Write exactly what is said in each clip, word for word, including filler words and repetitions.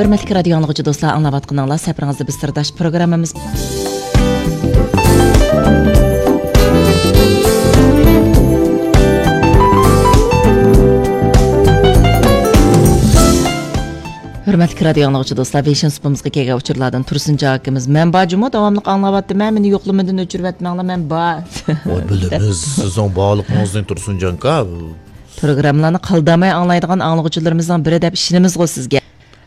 ھۆرمەتلىك رادىيو ئاڭلىغۇچى دوستلار، ئاڭلاۋاتقىنىڭلار سەپىرىڭىزدە بىز سىرداش پروگراممىمىز. ھۆرمەتلىك رادىيو ئاڭلىغۇچى دوستلار، ۋېيشىن سۇپىمىزغا كەلگەن ئۇچۇرلاردىن تۇرسۇنجان ئاكىمىز، مەن بار جۇمۇ، داۋاملىق ئاڭلاۋاتىمەن، مېنى يوقلىمىدىن ئۆچۈرۈۋەتمەڭلار، مەن بار. ۋاي، بىلىمىز سىزنىڭ بارلىقىڭىزنى، تۇرسۇنجان ئاكا. پروگراممىلارنى قالدۇرماي ئاڭلايدىغان ئاڭلىغۇچىلىرىمىزنىڭ بىرى دەپ ئىشىنىمىزغۇ سىزگە.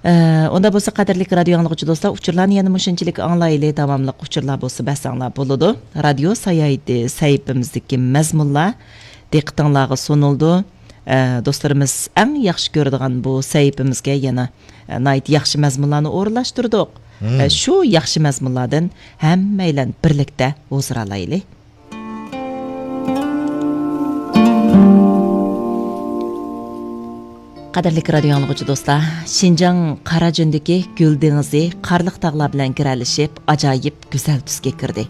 ئە، ئۇنداق بولسا، قەدىرلىك رادىيو ئاڭلىغۇچى دوستلار، ئۇچۇرلارنى يەنە مۇشۇنچىلىك ئاڭلايلى. داۋاملىق ئۇچۇرلار بولسا بەرسەڭلار بولىدۇ. رادىيو ساياھىتى سەھىپىمىزدىكى مەزمۇنلار دىققىتىڭلارغا سۇنۇلىدۇ. ئە، دوستلىرىمىز ئەڭ ياخشى كۆرىدىغان بۇ سەھىپىمىزگە يەنە، ئە، ناھايىتى ياخشى مەزمۇنلارنى ئورۇنلاشتۇردۇق. مم. ئە، شۇ ياخشى مەزمۇنلاردىن ھەممەيلەن بىرلىكتە ھۇزۇر ئالايلى. قەدىرلىك رادىيو ئاڭلىغۇچى دوستلار، شىنجاڭ قاراجۈندىكى گۈل دېڭىزى قارلىق تاغلار بىلەن گىرەلىشىپ، ئاجايىپ گۈزەل تۈسكە كىردى.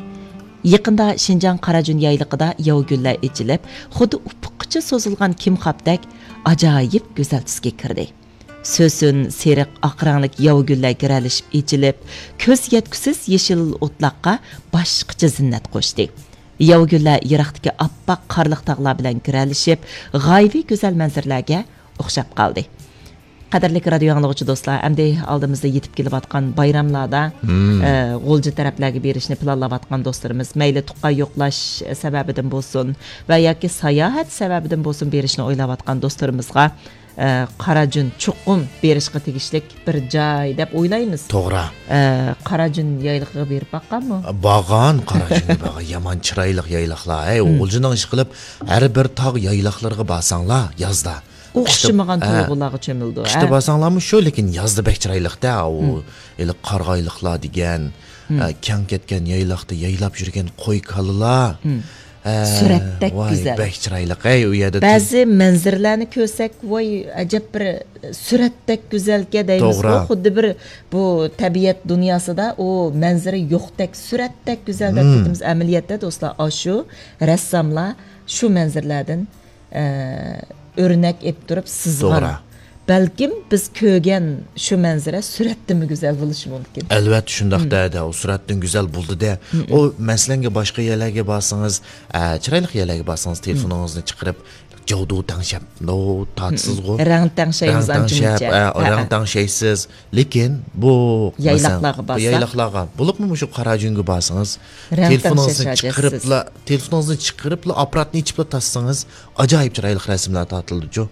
يېقىندا شىنجاڭ قاراجۈن يايلىقىدا ياۋا گۈللەر ئېچىلىپ، خۇددى ئۇپۇققىچە سوزۇلغان كىمخابتەك ئاجايىپ گۈزەل تۈسكە كىردى. سۆسۈن، سېرىق، ئاق رەڭلىك ياۋا گۈللەر گىرەلىشىپ ئېچىلىپ، كۆز يەتكۈسىز يېشىل ئوتلاققا باشقىچە زىننەت قوشتى. ياۋا گۈللەر يىراقتىكى ئاپئاق قارلىق تاغلار بىلەن گىرەلىشىپ، غايىۋى گۈزەل مەنزىرىلەرگە ئوخشاپ قالدى. قەدىرلىك رادىيو ئاڭلىغۇچى دوستلار، ئەمدى ئالدىمىزدا يېتىپ كېلىۋاتقان بايراملاردا، مم. ئە، غۇلجا تەرەپلەرگە بېرىشنى پىلانلاۋاتقان دوستلىرىمىز، مەيلى تۇغقان يوقلاش سەۋەبىدىن بولسۇن ۋە ياكى ساياھەت سەۋەبىدىن بولسۇن بېرىشنى ئويلاۋاتقان دوستلىرىمىزغا، ئە، قاراجۈن چوقۇم بېرىشقا تېگىشلىك بىر جاي دەپ ئويلايمىز. توغرا. ئە، قاراجۈن يايلىقىغا بېرىپ باققانمۇ؟ بارغان، قاراجۈنگە بارغان. يامان چىرايلىق يايلاقلار. ھەي، مم. غۇلجىنىڭ ئىشقىلىپ، ھەر بىر تاغ يايلاقلىرىغا بارساڭلار يازدا. ئوخشىمىغان قىشتا، ھە، تۇيغۇلارغا چۆمۈلىدۇ، قىشتا ھە. بارساڭلارمۇ شۇ، لېكىن يازدا بەك چىرايلىق-دە، ئۇ مم. ھېلىقى قارىغايلىقلار دېگەن، مم. ئە، كەڭ كەتكەن يايلاقتا يايلاپ يۈرگەن قوي-كالىلار. مم. ئە، سۈرەتتەك ۋاي، گۈزەل. بەك چىرايلىق. ھەي، ئۇ يەردە تۇ- بەزى مەنزىرىلەرنى كۆرسەك، ۋاي، ئەجەب بىر سۈرەتتەك گۈزەلكەن دەيمىزغۇ، توغرا. خۇددى بىر بۇ تەبىئەت دۇنياسىدا ئۇ مەنزىرە يوقتەك، سۈرەتتەك گۈزەل دەپ مم. كېتىمىز. ئەمەلىيەتتە، دوستلار، ئاشۇ رەسساملار شۇ مەنزىرىلەردىن ئە، ئۆرنەك ئېلىپ تۇرۇپ سىزغان. توغرا. بەلكىم بىز كۆرگەن شۇ مەنزىرە سۈرەتتىنمۇ گۈزەل بولۇشى مۇمكىن. ئەلۋەتتە، شۇنداق مم. دەدە، ئۇ سۈرەتتىن گۈزەل بولدى-دە. مم. ئۇ، مەسىلەنگە، باشقا يەرلەرگە بارسىڭىز، ئە، چىرايلىق يەرلەرگە بارسىڭىز، مم. تېلېفونىڭىزنى چىقىرىپ، جاۋدۇ تەڭشەپ، نو، تارتىسىزغۇ. مم. رەڭ تەڭشەيمىز رەڭ تەڭشەپ، ئانچە-مۇنچە. ئە، ھە، رەڭ ھە. تەڭشەيسىز. لېكىن بۇ، يايلاقلارغا مەسىلەن، بارسا؟ يايلاقلارغا، بولۇپمۇ مۇشۇ قاراجۈنگە بارسىڭىز، رەڭ تېلېفونىڭىزنى تەڭشەش ھاجەتسىز. چىقىرىپلا، تېلېفونىڭىزنى چىقىرىپلا، ئاپپاراتنى ئېچىپلا تارتسىڭىز، ئاجايىپ چىرايلىق رەسىملەر تارتىلىدۇچۇ.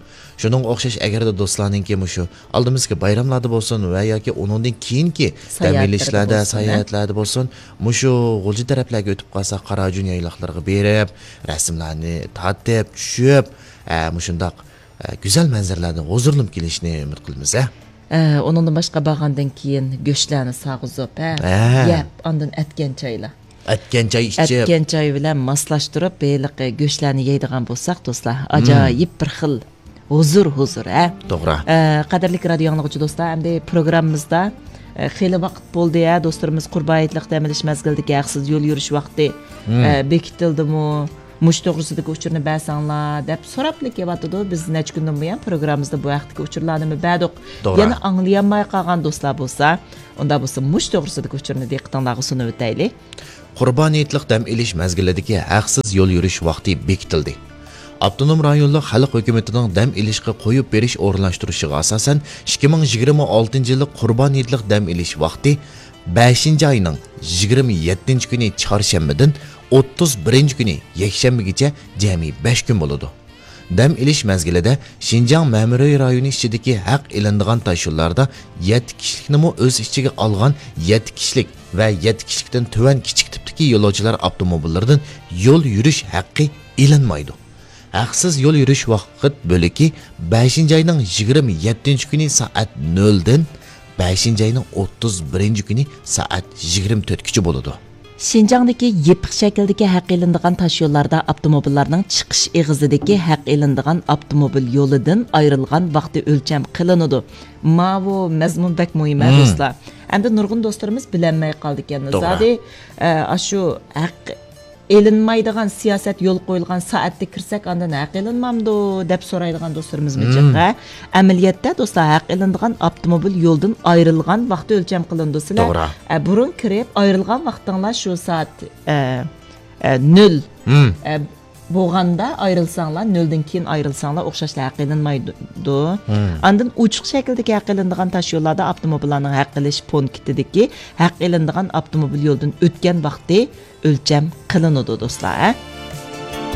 شۇنىڭغا ئوخشاش، ئەگەردە دوستلارنىڭكى مۇشۇ ئالدىمىزدىكى بايراملاردا بولسۇن ۋە ياكى ئۇنىڭدىن كېيىنكى دەم ساياھەتلىرىدە ئېلىشلاردا، بولسۇن، ھە؟ ساياھەتلەردە بولسۇن، مۇشۇ غۇلجا تەرەپلەرگە ئۆتۈپ قالسا، قاراجۈن يايلاقلىرىغا بېرىپ، رەسىملەرنى تارتىپ، چۈشۈپ، ئە، مۇشۇنداق، ئە، گۈزەل مەنزىرىلەردىن ھۇزۇرلىنىپ كېلىشنى ئۈمىد قىلىمىز، ھە؟ ئە، ئۇنىڭدىن باشقا بارغاندىن كېيىن گۆشلەرنى ساغىزىپ، ھە، ھە. يەپ، ئاندىن ئەتكەن چايلار. ئەتكەن چاي ئىچىپ. ئەتكەن چاي بىلەن ماسلاشتۇرۇپ، ھېلىقى گۆشلەرنى يەيدىغان بولساق، دوستلار، مم. ئاجايىپ بىر خىل ھۇزۇر، ھۇزۇر، ھە؟ توغرا. ئە، قەدىرلىك رادىيو ئاڭلىغۇچى دوستلار، ئەمدى پروگراممىمىزدا، ئە، خېلى ۋاقىت بولدى، ھە، دوستلىرىمىز قۇربان ھېيتلىق دەم ئېلىش مەزگىلىدىكى ھەقسىز يول يۈرۈش ۋاقتى، مم. ئە، بېكىتىلدىمۇ؟ مۇشۇ توغرىسىدىكى ئۇچۇرنى بەرسەڭلار دەپ سوراپلا كېلىۋاتىدۇ. بىز نەچچە كۈندىن بۇيان پروگراممىمىزدا بۇ ھەقتىكى ئۇچۇرلارنىمۇ بەردۇق. توغرا. يەنە ئاڭلىيالماي قالغان دوستلار بولسا، ئۇنداق بولسا مۇشۇ توغرىسىدىكى ئۇچۇرنى دىققىتىڭلارغا سۇنۇۋېتەيلى. قۇربان ھېيتلىق دەم ئېلىش مەزگىلىدىكى ھەقسىز يول يۈرۈش ۋاقتى بېكىتىلدى. ئاپتونوم رايونلۇق خەلق ھۆكۈمىتىنىڭ دەم ئېلىشقا قويۇپ بېرىش ئورۇنلاشتۇرۇشىغا ئاساسەن، ئىككى مىڭ يىگىرمە ئالتىنچى يىللىق قۇربان ھېيتلىق دەم ئېلىش ۋاقتى بەشىنچى ئاينىڭ يىگىرمە يەتتىنچى كۈنى چارشەنبىدىن ئوتتۇز بىرىنچى كۈنى يەكشەنبىگىچە جەمئىي بەش كۈن بولىدۇ. دەم ئېلىش مەزگىلىدە شىنجاڭ مەمۇرىي رايونى ئىچىدىكى ھەق ئېلىنىدىغان تاشيوللاردا يەتتە كىشىلىكنىمۇ ئۆز ئىچىگە ئالغان يەتتە كىشىلىك ۋە يەتتە كىشىلىكتىن تۆۋەن كىچىك تىپتىكى يولۇچىلار ئاپتوموبىللىرىدىن يول يۈرۈش ھەققى ئېلىنمايدۇ. ھەقسىز يول يۈرۈش ۋاقىت بۆلىكى بەشىنچى ئاينىڭ يىگىرمە يەتتىنچى كۈنى سائەت نۆلدىن بەشىنچى ئاينىڭ ئوتتۇز بىرىنچى كۈنى سائەت يىگىرمە تۆتكىچە بولىدۇ. شىنجاڭدىكى يېپىق شەكىلدىكى ھەق ئېلىنىدىغان تاشيوللاردا ئاپتوموبىللارنىڭ چىقىش ئېغىزىدىكى ھەق ئېلىنىدىغان ئاپتوموبىل يولىدىن ئايرىلغان ۋاقتى ئۆلچەم قىلىنىدۇ. ماۋۇ مەزمۇن بەك مۇھىم، ھە، مم. دوستلار. ئەمدى نۇرغۇن دوستلىرىمىز بىلەلمەي قالىدىكەن. توغرا. زادى، ئە، ئاشۇ ھەق ئېلىنمايدىغان سىياسەت يول قويۇلغان سائەتتە كىرسەك، ئاندىن ھەق ئېلىنمامدۇ دەپ سورايدىغان دوستلىرىمىزمۇ جىق، ھە؟ ئەمەلىيەتتە، دوستلار، ھەق ئېلىنىدىغان ئاپتوموبىل يولدىن ئايرىلغان ۋاقتى ئۆلچەم قىلىنىدۇ. سىلەر، توغرا. ئە، بۇرۇن كىرىپ، ئايرىلغان ۋاقتىڭلار شۇ سائەت، ئە، ئە، نۆل، ئە، بولغاندا ئايرىلساڭلار، نۆلدىن كېيىن ئايرىلساڭلار، ئوخشاشلا ھەق ئېلىنمايدۇ. ئاندىن ئوچۇق شەكىلدىكى ھەق ئېلىنىدىغان تاش يوللاردا ئاپتوموبىللارنىڭ ھەق ئېلىش پونكىتىدىكى ھەق ئېلىنىدىغان ئاپتوموبىل يولدىن ئۆتكەن ۋاقتى ئۆلچەم قىلىنىدۇ، دوستلار، ھە؟